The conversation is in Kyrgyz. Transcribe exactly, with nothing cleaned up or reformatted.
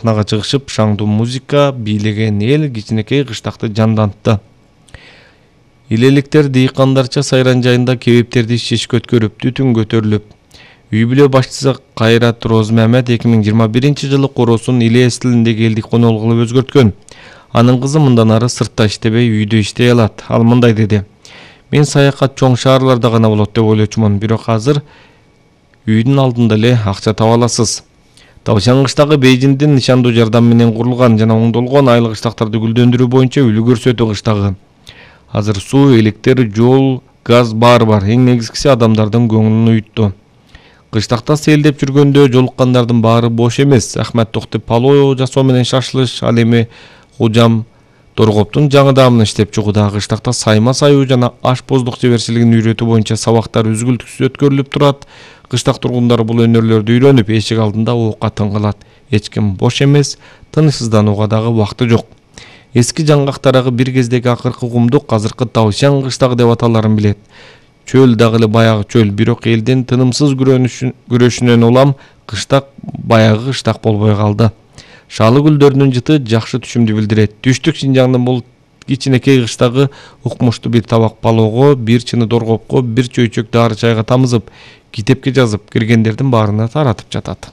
сахнага чыгышып, шаңдуу музыка бийлеген эл кичинекей кыштакты жандантты. Илеликтер дыйкандарча сайран жайында кебептерди шешке өткөрүп, түтүн көтөрүлүп, үй бүлө башчысы Кайрат Розмамед эки миң жыйырма биринчи жылы короосун Илес тилиндеги элдик конол кылып өзгөрткөн. Анын кызы мындан ары сыртта иштебей, үйдө иштей алат. Ал мындай деди: "Мен саякат чоң шаарларда гана болот деп ойлочумун, бирок азыр үйдүн алдында эле акча таба аласыз." Таушан кыштагы Бейжиңдин нышандуу жардам менен курулган жана оңдолгон айыл кыштактарды гүлдөндүрүү боюнча үлгү көрсөтүү кыштагы. Азыр суу, электр, жол, газ баары бар. Эң негизгиси адамдардын көңүлүн уютту. Кыштакта селдеп жүргөндө жолуккандардын баары бош эмес. Ахмат Токтоп палоо жасоо менен шашылыш, ал эми Кужам Торгоптун жаңы даамын иштеп чыгууда. Кыштакта сайма саюу жана ашпоздук жеберчилигин үйрөтүү боюнча сабактар үзгүлтүксүз өткөрүлүп турат. Кыштак тургундары бул өнөрлөрдү үйрөнүп, эшик алдында оокатын кылат. Эч ким бош эмес, тынычсызданууга дагы убакыты жок. Эски жаңгактарагы бир кездеги акыркы кумдук азыркы Таушан кыштагы деп аталарын билет. Чөл дагы эле баягы чөл, бирок элдин тынымсыз күрөшүнөн улам кыштак баягы кыштак болбой калды. Шалы гүлдөрүнүн жыты жакшы түшүмдү билдирет. Түштүк Шинжаңдын бул кичинекей кыштагы укмуштуу бир табак палоого, бир чыны доргопко, бир чөйчөк дары чайга тамызып, китепке жазып, киргендердин баарына таратып жатат.